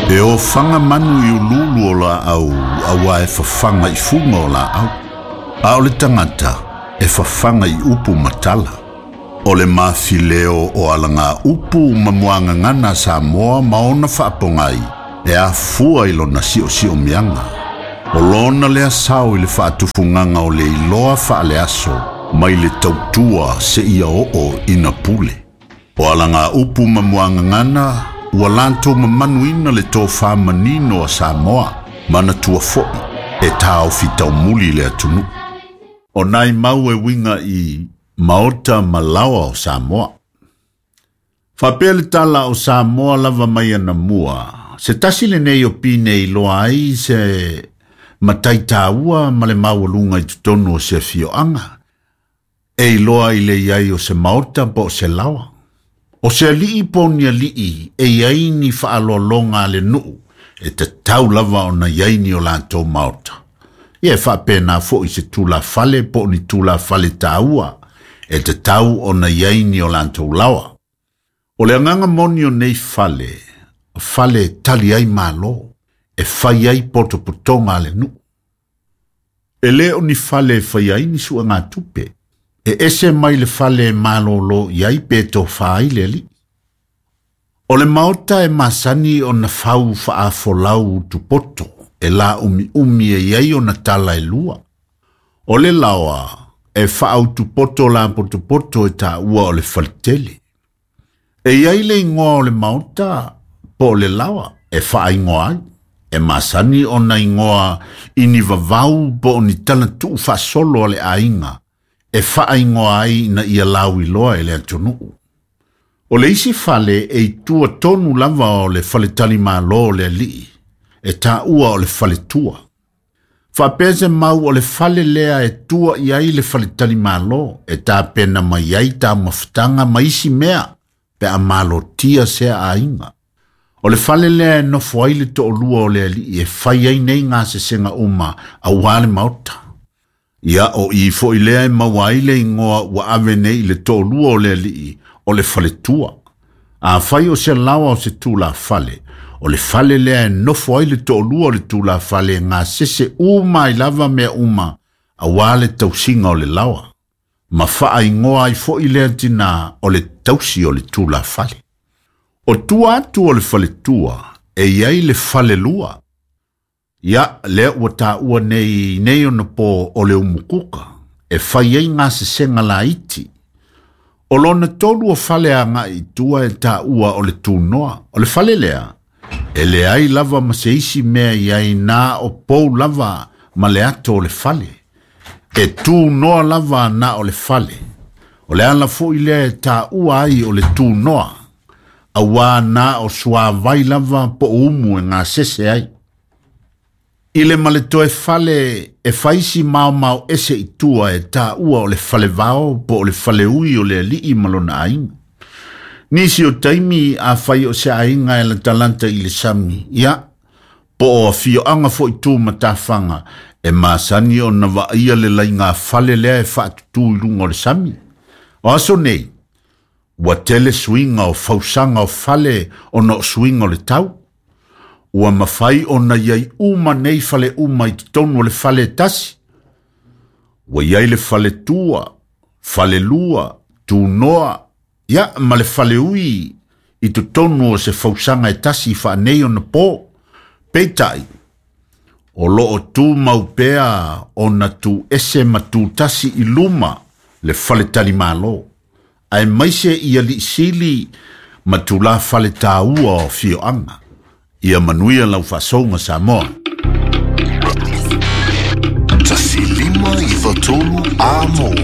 E ofaga manu i uluulu o laau auā e fafaga i fuga o laau, a o le tagata e fafaga i upu ma tala. O le mafileo o alagaupu ma muagagana a Samoa ma ona faapogai e afua i lona siosiomiaga. O lona lea sao i le faatufugaga o le iloa faaleaso mai le tautua seia oo ina pule. O alagaupu ma muagagana ua latou mamanuina le tofa manino a Samoa, manatua foi e taofi taumuli le atunuu. O nai mau e uiga i maota ma laoa o Samoa. Faapea le tala o Samoa lava mai anamua, se tasi lenei o pine i iloa ai se matai taua ma le maualuga i totonu o se afioaga, e iloa i le i ai o se maota po o se laoa. O se alii po o ni alii e i ai ni faaaloaloga a le nuu e tatau lava ona i ai ni o latou maota. Ia e faapena foi i se tulafale po o ni tulafale taua e tatau ona i ai ni o latou laoa. O le agaga moni o nei fale, o fale e tali ai Malo, e fai ai potopotoga a le nuu. E le o ni fale e faia ai ni suegatupe, e ese mai le fale e malolo i ai pe tofa ai le alii. O le maota e masani ona fau faafolau utupoto e laumiumi e i ai ona tala e lua. O le laoa e faautupoto lapotopoto e taua o le faletele. E i ai le igoa o le maota po o le laoa e faaigoa ai, e masani ona igoa i ni vavau po o ni tala tuufaasolo a le aiga e faaigoa ai ina ia lauiloa e le atunuu. O le isi fale e i tua tonu lava o le faletalimalo o le alii, e taua o le faletua. Faapea se mau o le fale lea e tua i ai le faletalimalo e tapena mai ai taumafataga ma isi mea pe a malotia sea aiga. O le fale lea e nofo ai le toalua o le alii e fai ai nei gasesega uma aua le maota. Ia o i foi lea e maua ai le igoa ua ave nei i le toalua o le alii o le faletua. Afai o se laoa o se tulafale, o le fale lea e nofo ai le toalua o le tulafale e gasese uma ai lava mea uma aua le tausiga o le laoa. Ma faaigoa ai foi lea tinā o le tausi o le tulafale. O tua atu o le faletua e i ai le falelua. Ia, lea ua taua nei i nei ona po o le umukuka, e fai ai gasesega laiti. O lona tolu o fale agai i tua e taua o le tunoa. O le fale lea, e leai lava ma se isi mea i ai na o pou lava ma le ato o le fale. E tunoa lava na o le fale. O le ala foi lea e taua ai o le tunoa, auā na o suavai lava po o umu e gasese ai. I le ma le toe fale e fai si maomao ese i tua e taua o le falevao po o le faleui o le alii ma lona aiga. Nisi o taimi afai o se aiga e latalata i le sami, ia, po o afioaga foi tu ma tafaga, e masani ona vaaia le laiga fale lea e faatutū i luga o le sami. O aso nei, ua tele suiga o fausaga o fale ona o suiga o le tau. Ua mafai ona i ai uma nei fale uma i totonu o le fale e tasi. Ua i ai le faletua, falelua, tunoa, ia ma le faleui i totonu o se fausaga e tasi faaneionapo. Peitai, o loo tumau pea ona tu ese ma tu tasi i luma le faletalimalo, aemaise i alii sili ma tulafale taua o afioaga. Ia manuia lau faasouga Samoa. 1593 Amo.